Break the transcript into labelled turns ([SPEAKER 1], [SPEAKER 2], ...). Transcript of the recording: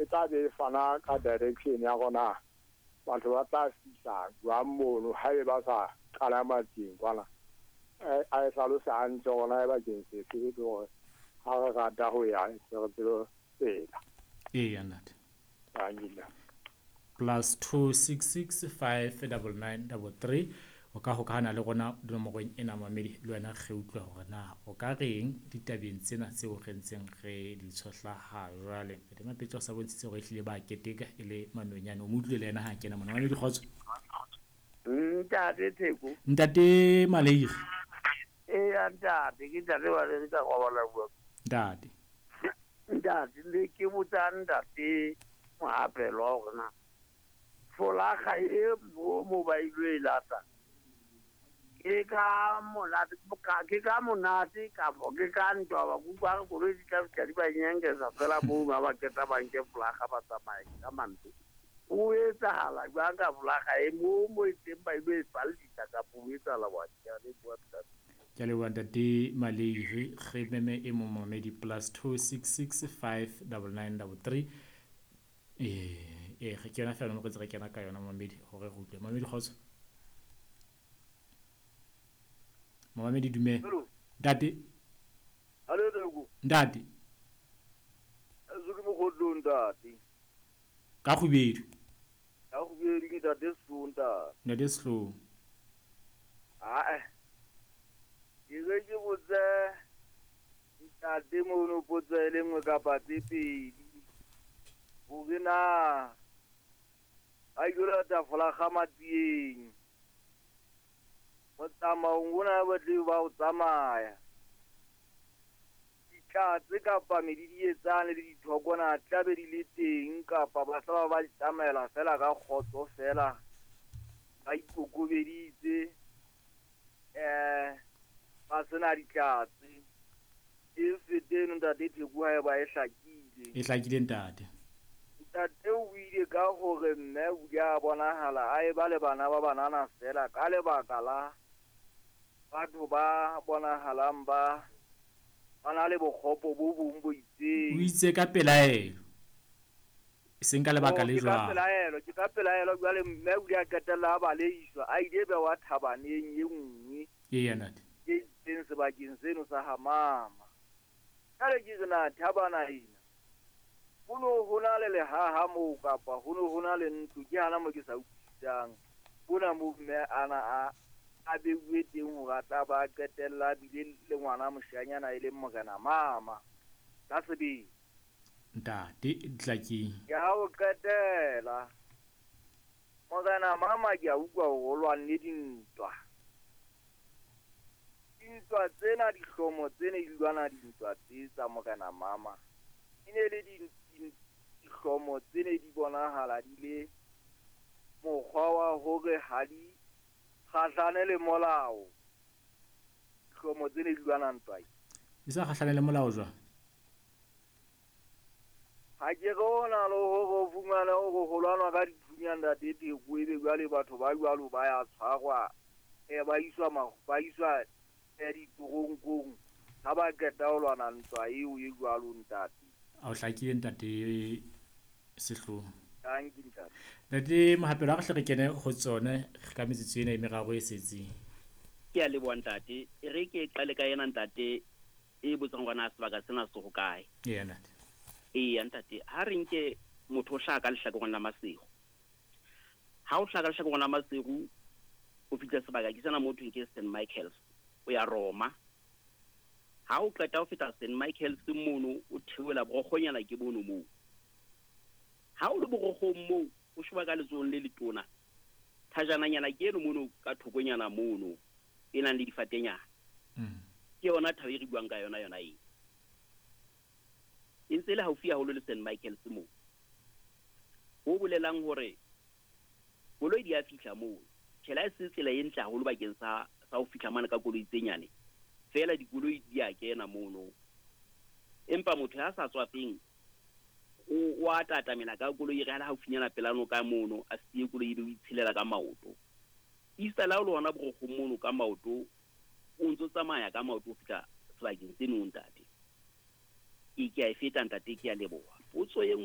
[SPEAKER 1] E tla be e fana ka direction ya rona, batho ba tla fihla jwang mono haebe ba sa qala matseng kwana. A e hlalose hantle hore na e bakeng sefe, le hore ha re rata ho ya re tsebe tsela.
[SPEAKER 2] Eya ntate.
[SPEAKER 1] Thank you.
[SPEAKER 2] +266 599 33 o ka hokahana le rona dinomorong ena mamedi, le wena re utlwe hore na o ka reng ditabeng tsena tseo re ntseng re di tshohla ha jwale. Ntate Mapetso o sa bontshitse hore ehlile ba keteka e le manonyane. O mo utlwile le yena ha kena mona. Mamedi, kgotso.
[SPEAKER 3] Ntate Theko.
[SPEAKER 2] Ntate Maleire.
[SPEAKER 3] Eya ntate, ke ntate Maleire ka kwabala bua.
[SPEAKER 2] Ntate.
[SPEAKER 3] Ntate, le ke botsa ntate Mohapelo hore na folaga e mo mobile e lata ke ka monate, ke ka monate kapo ke ka ntwa, ba kutlwa re koloi di tla fihla di ba nyenkesa fela moo ba ba qeta ba nke folaga ba tsamaye ka manto. O etsahala jwang ka folaga e mo mo e teng ba ilo e fallisa kapo o etsahala wa? Ke a leboha, ntate.
[SPEAKER 2] Ke a leboha ntate Maleire. Re meme e mong mamedi, +266 599 33. Ee, ke yona fela nomoro tse re kena ka yona mamedi hore re utlwe. Mamedi, kgotso. Mamedi, dumela.
[SPEAKER 4] Hello.
[SPEAKER 2] Ntate.
[SPEAKER 4] Hello, Theko.
[SPEAKER 2] Ntate.
[SPEAKER 4] Eso ke mokgotlong, ntate.
[SPEAKER 2] Ka kgubedu.
[SPEAKER 4] Ka kgubedu ke ntate Sehlooho, ntate.
[SPEAKER 2] Ntate Sehlooho.
[SPEAKER 4] Ae. Ke re ke botse ntate mono potso e le nngwe kapa tse pedi. Hore na a ilo lata folaga matsieng. Motsamaong ona ba tle ba o tsamaya. Ditlatse kapa medidietsane le dithoko na tla be di le teng kapa ba tla ba tsamaela fela ka kgotso fela ba ikokobeditse, ba sena ditlatse. E fete eno ntate Theko ha eba e hlakile.
[SPEAKER 2] E hlakile ntate.
[SPEAKER 4] Ntate o ile ka hore mme o ile a bonahala a eba le bana ba banana fela ka lebaka la batho ba bonahalang ba na le bokgopo bo bong bo itseng.
[SPEAKER 2] O itse ka pelaelo, e seng ka lebaka le jwalo.
[SPEAKER 4] Ke ka pelaelo jwale mme o ile a qetella a baleiswa, a ile bewa thabaneng e nngwe.
[SPEAKER 2] Eya ntate.
[SPEAKER 4] E itseng sebakeng seno sa ha mama. Jwale ke re na thabana ena ho no ho na le lehaha moo kapa ho no ho na le ntlo, ke hana mo ke sa utlwisisang. Bona moo mme ana a beuwe teng hore a tla ba qetella bile le ngwana moshanyana e leng morena mama ka sebele.
[SPEAKER 2] Ntate Tlakeng.
[SPEAKER 4] Ke ha o qetela morena mama ke a utlwa hore o lwanne dintwa. Dintwa tsena dihlomo tsene di lwana dintwa tse tsa morena mama. E ne le dihlomo tsene di bonahala di le mokgwa wa hore ha di kgahlane le molao. Dihlomo tsene di lwana ntwa.
[SPEAKER 2] Di sa kgahlane le molao jwang?
[SPEAKER 4] Ha ke re ho na le hore o fumane hore ho lwanwa ka dithunya ntate Theko, ebe jwale batho ba jwalo ba ya tshwarwa, ba iswa ditoronkong ha ba qeta ho lwana ntwa eo e jwalo ntate.
[SPEAKER 2] A o hlakile ntate Sehlooho.
[SPEAKER 4] Thank you, ntate.
[SPEAKER 2] Ntate Mohapelo, ha re hle re kene ho tsone ka metsotso ena e meraro e setseng.
[SPEAKER 5] Ke a leboha ntate. E re ke qale ka yena ntate e botsang hore na sebaka sena se hokae.
[SPEAKER 2] Eya ntate.
[SPEAKER 5] Eya ntate, ha re nke motho o hlaha ka lehlakoreng la Maseru. Ha o hlaha ka lehlakoreng la Maseru, o fihla sebaka ke sena mo thweng ke St Michael's, o ya Roma. Ha o qeta ho feta St Michael's mono, o theohela borokgonyana ke bono moo. Ha o le borokgong moo, o sheba ka letsohong le letona. Thajananyana ke eno mono ka thokonyana mono, e nang le difatenyana. Ke yona thaba e re buang ka yona yona eo. E ntse e le haufi haholo le St Michael's moo. Ho bolelang hore koloi di a fihla moo. Tjhe, ha e se tsela e ntle haholo bakeng sa ho fihla mane ka koloi tse nyane. Feela dikoloi di a kena mono. Empa motho ya sa tswafeng o a tatamela ka koloi e re ha le haufinyana pela noka mono, a siye koloi ebe o itshelela ka maoto. Easter la o le hona borokgong mono ka maoto, o ntso tsamaya ka maoto ho fihla sebakeng seno ntate. Ke a e feta ntate, ke a leboha. Potso e